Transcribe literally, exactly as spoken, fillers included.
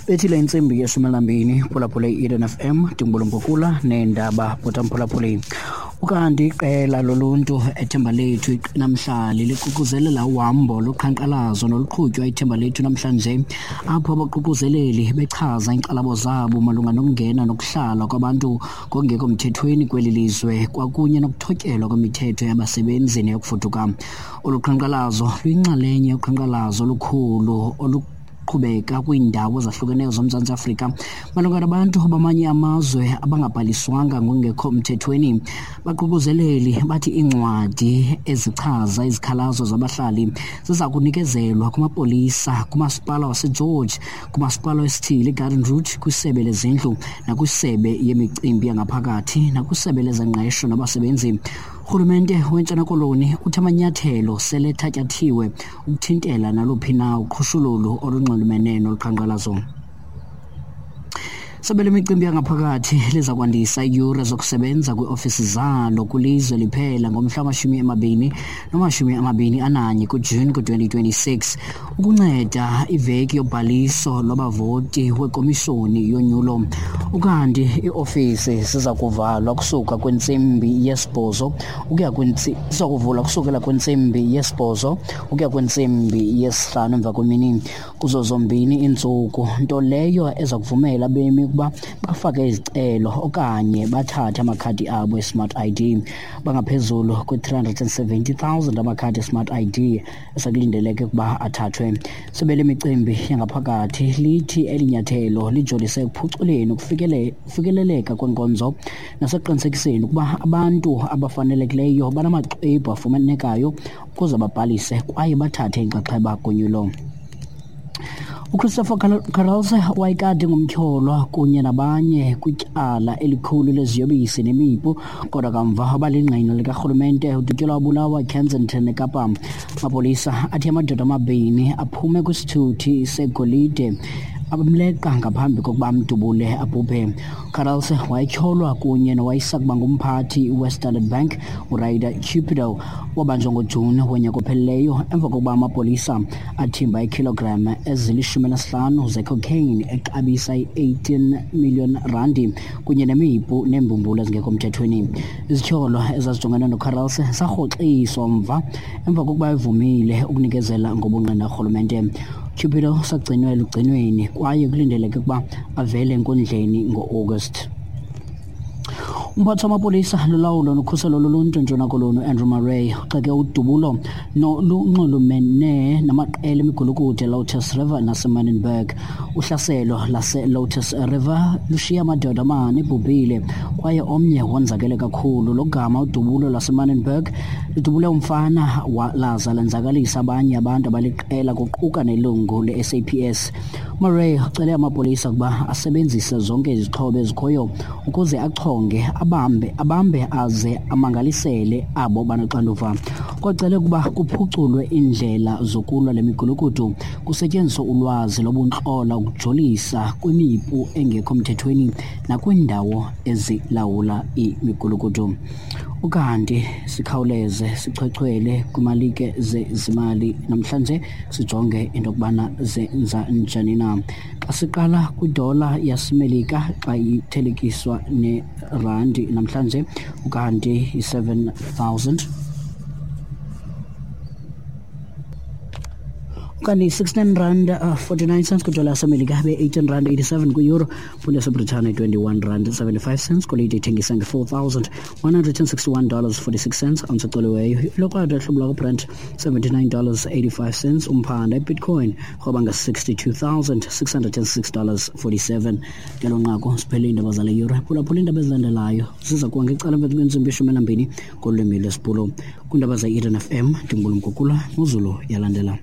Bethile intsimbi yeshumi elinambini phulaphula i-Eden F M ndingubulumphukula neendaba bhutamphulaphuli. Ukanti iqela loluntu eThemba Lethu namhlanje liququzelela uhambo loqhankqalazo noluqhutywa iThemba Lethu namhlanje, apho abaququzeleli bechaza iinkxalabo zabo malunga nokungena nokuhlala kwabantu ngokungekho mthethweni kweli lizwe kwakunye nokuthotyelwa kwemithetho yabasebenzi neyokufuduka. Olu qhankqalazo luyinxalenye yoqhankqalazo olukhulu olu qhubeka kwiindawo ezahlukeneyo zoMzantsi Afrika malunga nabantu bamanye amazwe abangabhaliswanga ngokungekho mthethweni. Baququzeleli bathi iincwadi ezichaza izikhalazo zabahlali ziza kunikezelwa kumapolisa, kumasipala waseGeorge, kumasipala wesithili iGarden Route, kwisebe lezindlu nakwisebe yemicimbi yangaphakathi nakwisebe lezengqesho nabasebenzi. Urhulumente weNtshona Koloni uthi amanyathelo sele ethatyathiwe ukuthintela naluphi na uqhushululu olunxulumene nolu qhankqalazo. Isebe lemicimbi yangaphakathi liza kwandisa iiyure zokusebenza kwiiofisi zalo kwilizwe liphela ngomhla wamashumi amabini namashumi amabini ananye kuJuni ku-twenty twenty-six ukunceda iveki yobhaliso lwabavoti wekomishoni yonyulo. Ukanti iiofisi ziza kuvalwa kusuka kwintsimbi yesibhozo ukuya kwintsi-, ziza kuvulwa kusukela kwintsimbi yesibhozo ukuya kwintsimbi yesihlanu emva kwemini kuzo zombini iintsuku, nto leyo eza kuvumela abemi ukuba bafake izicelo okanye bathathe amakhadi abo e-Smart I D. Bangaphezulu kwi-three hundred and seventy thousand amakhadi e-Smart I D esekulindeleke ukuba athathwe. Isebe lemicimbi yangaphakathi lithi eli nyathelo lijolise ekuphuculeni ukufikele-, ukufikeleleka kweenkonzo nasekuqinisekiseni ukuba abantu abafanelekileyo banamaxwebhu afumanekayo ukuze babhalise kwaye bathathe inxaxheba konyulo. uChristopher Carelse wayekade ngumtyholwa kunye nabanye kwityala elikhulu leziyobisi nemipu, kodwa kamva wabalingqina likarhulumente udutyulwa wabulawa eKensington eKapa. Amapolisa athi amadoda amabini aphume kwisithuthi segolide abamleqa ngaphambi kokuba amdubule abhubhe. Carelse wayetyholwa kunye nowayesakuba ngumphathi weStandard Bank uRyder Cupido wabanjwa ngoJuni wonyaka ophelileyo emva kokuba amapolisa athimba iikhilogram ezilishumi elinesihlanu zecocaine exabisa i-eighteen million randi kunye nemipu neembumbulu ezingekho mthethweni. Izityholo ezazijongene noCarelse zarhoxiswa mva emva kokuba evumile ukunikezela ngobungqina kurhulumente. Cupido sagcinwe elugcinweni kwaye kulindeleke ukuba avele enkundleni ngo-August. Umphathi wamapolisa lolawulo nokhuselo loluntu eNtshona Koloni uAndrew Murray uxeke udubulo nolunxulumene namaqela emigulukudu eLotus River naseManenberg. Uhlaselo laseLotus River lushiye amadoda amane ebhubhile kwaye omnye wonzakele kakhulu. Logama udubulo lwaseManenberg ludubule umfana laza lenzakalisa abanye abantu abaliqela kuquka nelungu le-S A P S. Murray ucele amapolisa ukuba asebenzise zonke izixhobo ezikhoyo ukuze achonge abambe, abambe aze amangalisele abo banoxanduva. Kwacele ukuba kuphuculwe iindlela zokulwa le migulukudu kusetyenziswe ulwazi lobuntlola ukujolisa kwimipu engekho mthethweni nakwiindawo ezilawula imigulukudu. Ukanti sikhawuleze sichwechwele kwimalike zezimali namhlanje sijonge into yokubana zenza njani na. Xa siqala kwidola yaseMelika xa ithelekiswa nerandi namhlanje, ukanti i-seven thousand ukanti sixteen rand forty-nine cents kwidola yaseMelika, be-eighteen rand eighty-seven kwi-euro, phundi yaseBritane twenty-one rand seventy-five cents, golide ithengisa nge-four thousand one hundred and sixty-one dollars forty-six cents, ounce ecoliweyo. Ilokrwada hlobo lwakwaBrent seventy-nine dollars eighty-five cents, umphanda iBitcoin rhoba nge-sixty-two thousand six hundred and six dollars forty-seven. Ngelo nqaku siphele iindaba zale yure. Phulaphula iindaba ezilandelayo ziza kuwa ngecala emva kwentsimbi yeshumi elinambini ngolwimi lwesiBhulu. Kwiindaba ze-Eden F M ndingubulumgugula noZulu yalandela.